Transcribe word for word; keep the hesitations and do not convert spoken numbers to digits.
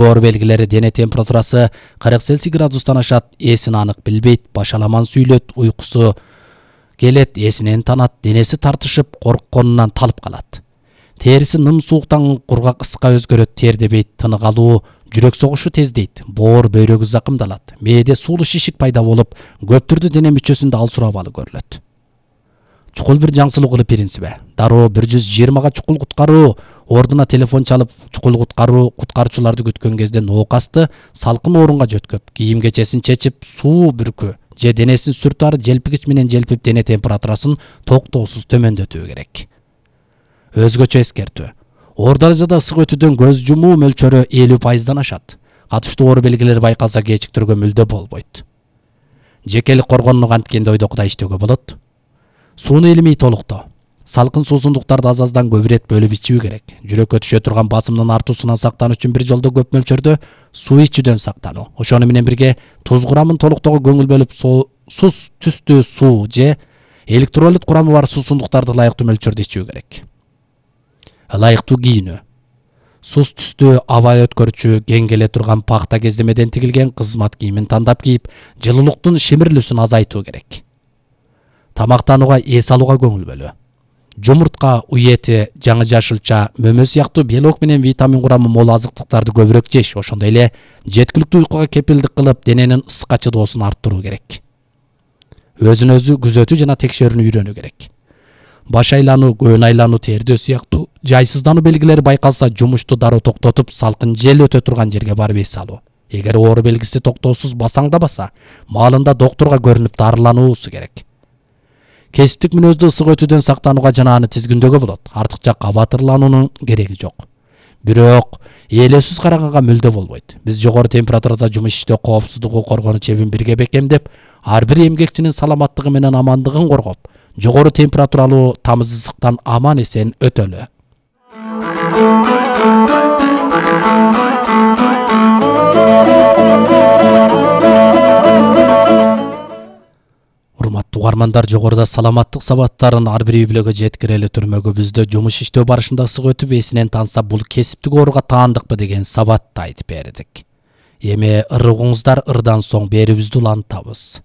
Оор белгилери дене температурасы кырк Цельсий градустан ашат, эсин анык билбейт, башаламан сүйлөт, уйкусу келет, эсинен танат, денеси тартышып, коркконунан талып калат. Териси ным сууктан кургак ысыкка өзгөрөт, тердебейт, тынык алуу, жүрөк согушу тездейт, боор бөйрөгү закымдалат, мээде суулуу шишик пайда болуп, көп түрдүү дене мүчөсүндө алсурабалы көрүлөт. Чукул бир жаңсылык кылып принциби. Дароо бир жүз жыйырмага чукул куткаруу, ордуна телефон чалып, чукул куткаруу, куткарчыларды күткөн кезде ноокасты салкын орунга жөткөп, кийим кечесин чечип, суу бүркү же денесин сүртү ары желпигич менен желпип дене температурасын токтоосуз төмөндөтүү керек. Өзгөчө эскертүү. Оор даражада ысык өтүүдөн көз жумуу мөлчөрү элүү пайыздан ашат. Катыштуу оор белгилери байкалса кечиктирүүгө мүлдө болбойт. Жекелик коргонууну канткенде ойдокуда иштөөгө болот. Сууну илимий толуктоо. Салкын суусундуктарды аз-аздан көбүрөөк бөлүп ичүү керек. Жүрөккө түшө турган басымдын артуусунан сактануу үчүн бир жолдо көп мөлчөрдө суу ичүүдөн сактануу. Ошону менен бирге туз курамын толуктоого көңүл бөлүп, сус түстүү суу же электролит курамы бар суусундуктарды ылайыктуу мөлчөрдө ичүү керек. Ылайыктуу кийинүү. Сус түстүү аба өткөрчү, кең келе турган пахта кездемеден тигилген кызмат кийимин тандап кийип, жылуулуктун шимирилүүсүн азайтуу керек. Тамактанууга эс алууга көңүл бөлүү. Жумуртка, уй эти, жаңы жашылча, мөмө сыяктуу белок менен витамин курамы мол азыктыктарды көбүрөөк жеш, ошондой эле жеткиликтүү уйкуга кепилдик кылып, дененин ысыкка чыдоосун арттыруу керек. Өзүн өзү күзөтүү жана текшерүүнү үйрөнүү керек. Баш айлануу, көөн айлануу, тердөө сыяктуу жайсыздануу белгилери байкалса, жумушту дароо токтотуп, салкын жел өтө турган жерге барып эс алуу. Эгер оор белгиси токтоосуз басаңдабаса, маалында доктурга көрүнүп дарылануусу керек. Кесиптик мүнөздүү ысык өтүүдөн сактанууга жана аны тизгиндөөгө болот. Артыкча кабатырлануунун кереги жок. Бирок ээлесиз караганга мүлдө болбойт. Биз жогору температурада жумуш иштөө коопсуздугу коргонуу чебин бирге бекемдеп, ар бир эмгекчинин саламаттыгы менен амандыгын коргоп, жогору температуралуу тамыз ысыктан аман эсен өтөлү. Урматтуу угармандар, жогоруда саламаттык сабаттарын ар бир үй-бүлөгө жеткирели түрмөгүбүздө жумуш иштөө барышында ысык өтүп эсинен танса бул кесиптик ооруга таандыкпы деген сабатты айтып бердик. Эми ырыгыңыздар ырдан соң берүүбүздү улантабыз.